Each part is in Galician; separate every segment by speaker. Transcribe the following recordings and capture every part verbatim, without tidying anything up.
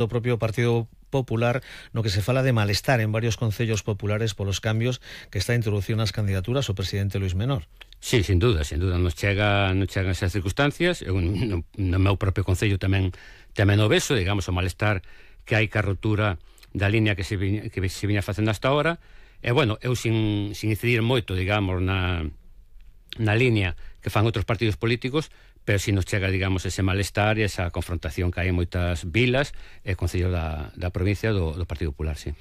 Speaker 1: do propio Partido Popular, no que se fala de malestar en varios concellos populares polos cambios que está introducindo nas candidaturas o presidente Luís Menor.
Speaker 2: Sí, sin duda, sin duda, nos chega, nos chegan esas circunstancias. Eu, no, no meu propio concello tamén tamén o beso, digamos, o malestar que hai ca rotura da línea que se viña, que se viña facendo hasta ahora. E, bueno, eu sin, sin incidir moito, digamos, na, na línea que fan outros partidos políticos, pero si nos chega, digamos, ese malestar e esa confrontación que hai en moitas vilas e concellos da, da provincia do, do Partido Popular, sí.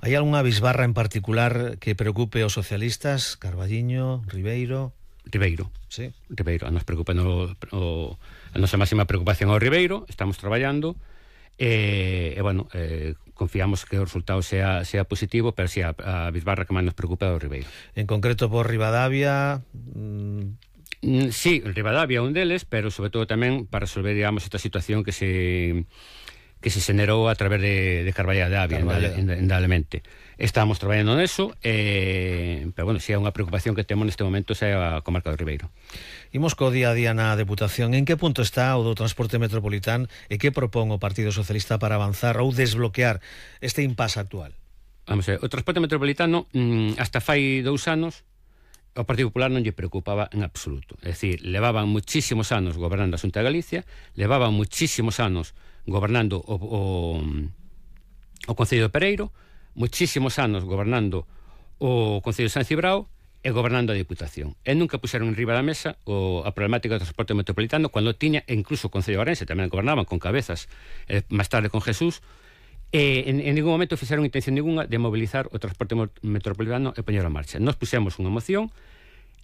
Speaker 1: Hai algunha bisbarra en particular que preocupe aos socialistas? Carballiño, Ribeiro?
Speaker 2: Ribeiro,
Speaker 1: sí.
Speaker 2: Ribeiro, nos preocupa no, o, a nosa máxima preocupación ao Ribeiro, estamos traballando e, e bueno, eh, confiamos que o resultado sea, sea positivo, pero si sí, a, a bisbarra que máis nos preocupa é o Ribeiro.
Speaker 1: En concreto por Ribadavia... Mmm...
Speaker 2: Sí, Ribadavia é un deles, pero sobre todo tamén para resolver, digamos, esta situación que se que se generou a través de, de Carballeda de Avia, indudablemente. Estamos traballando neso, eh, pero bueno, si é unha preocupación que temos neste momento é a comarca do Ribeiro.
Speaker 1: Imos co día a día na Deputación. En que punto está o do transporte metropolitano e que propón o Partido Socialista para avanzar ou desbloquear este impasse actual?
Speaker 2: Vamos a ver, o transporte metropolitano mmm, hasta fai dous anos o Partido Popular non lle preocupaba en absoluto. É dicir, levaban muchísimos anos gobernando a Xunta de Galicia, levaban muchísimos anos gobernando o, o, o Concello de Pereiro, muchísimos anos gobernando o Concello de San Cibrao e gobernando a Diputación. E nunca puxeron en riba da mesa o, a problemática do transporte metropolitano cando tiña, e incluso o Concello de Orense tamén gobernaban con Cabezas, eh, máis tarde con Jesús, e en, en ningún momento fixeron intención ninguna de mobilizar o transporte metropolitano e poñer a marcha. Nos puxemos unha moción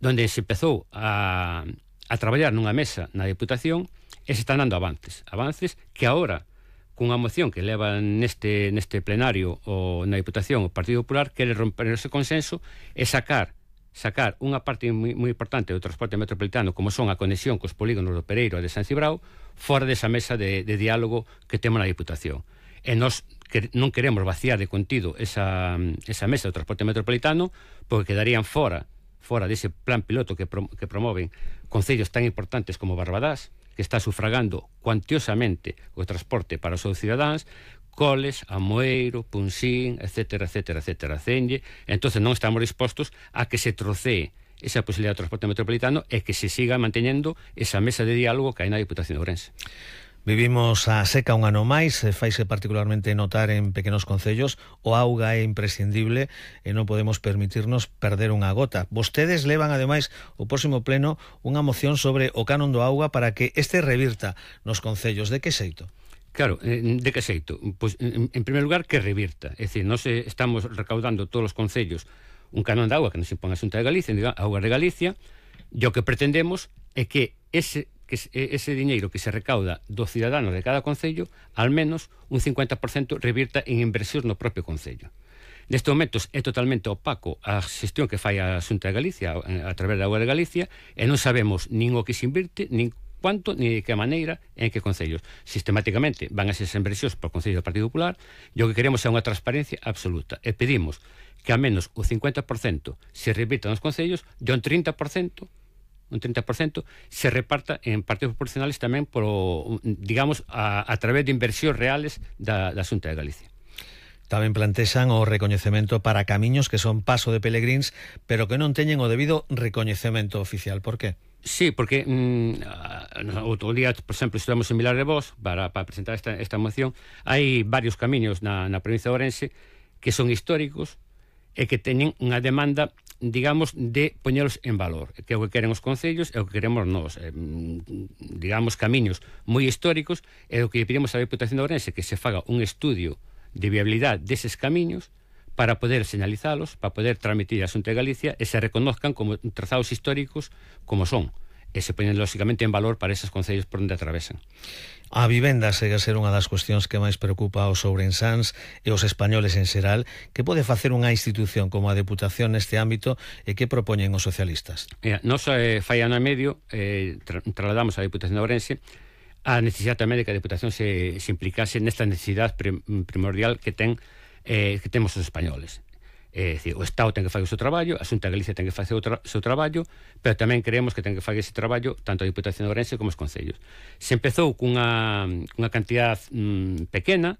Speaker 2: donde se empezou a, a traballar nunha mesa na Diputación e se están dando avances. Avances que agora, cunha moción que leva neste, neste plenario o na Diputación o Partido Popular, quere romper ese consenso e sacar sacar unha parte moi, moi importante do transporte metropolitano, como son a conexión cos polígonos do Pereiro e de San Cibrao, fora desa mesa de, de diálogo que temos na Diputación. E nós que non queremos vaciar de contido esa, esa mesa do transporte metropolitano, porque quedarían fora fora dese plan piloto que, prom que promoven concellos tan importantes como Barbadás, que está sufragando cuantiosamente o transporte para os seus cidadáns, Coles, Amoeiro, Punsín, etcétera, etcétera, etcétera, Cenlle. Entonces non estamos dispostos a que se trocee esa posibilidad de transporte metropolitano e que se siga manteñendo esa mesa de diálogo que hai na Diputación de Ourense.
Speaker 1: Vivimos a seca un ano máis, faise particularmente notar en pequenos concellos, o auga é imprescindible e non podemos permitirnos perder unha gota. Vostedes levan, ademais, o próximo pleno unha moción sobre o canon do auga para que este revirta nos concellos. De que xeito?
Speaker 2: Claro, de que xeito? Pois, en, en primer lugar, que revirta. É dicir, nós estamos recaudando todos os concellos un canon de auga que nos impón a Xunta de Galicia, a Auga de Galicia, e o que pretendemos é que ese que ese diñeiro que se recauda dos ciudadanos de cada concello, al menos un cincuenta por ciento revirta en inversión no propio concello. Nestes momentos é totalmente opaco a xestión que fai a Xunta de Galicia a través da Auga de Galicia e non sabemos nin o que se invirte, nin cuánto, ni de que maneira, en que concellos. Sistemáticamente van a ser inversións por Concello do Partido Popular e o que queremos é unha transparencia absoluta e pedimos que ao menos o cincuenta por ciento se revirta nos concellos e un trinta por ciento un trinta por ciento se reparta en partidos proporcionales tamén por, digamos, a, a través de inversións reales da, da Xunta de Galicia.
Speaker 1: Tamén plantexan o recoñecemento para camiños que son paso de pelegríns, pero que non teñen o debido recoñecemento oficial. Por qué?
Speaker 2: Sí, porque mmm, outro día, por exemplo, estamos en Vilar de Vos para, para presentar esta, esta moción. Hai varios camiños na, na provincia de Ourense que son históricos e que teñen unha demanda, digamos, de poñelos en valor, que é o que queren os concellos e o que queremos nós, eh, digamos, camiños moi históricos, e o que pedimos á Diputación de Ourense que se faga un estudio de viabilidade deses camiños para poder señalizalos, para poder transmitir a Xunta de Galicia e se reconozcan como trazados históricos como son, e se poñen lógicamente en valor para esos concellos por onde atravesan.
Speaker 1: A vivenda segue a ser unha das cuestións que máis preocupa aos ourensáns e os españoles en xeral. Que pode facer unha institución como a Deputación neste ámbito e que propoñen os socialistas?
Speaker 2: Mira, nos eh, fai ano e medio eh, tra trasladamos á Deputación de Ourense a necesidade tamén de que a Deputación se, se implicase nesta necesidade prim primordial que ten eh, que temos os españoles. É dicir, o Estado ten que facer o seu traballo, a Xunta de Galicia ten que facer o tra seu traballo, pero tamén creemos que ten que facer ese traballo tanto a Diputación de Ourense como os concellos. Se empezou cunha, cunha cantidad mmm, pequena,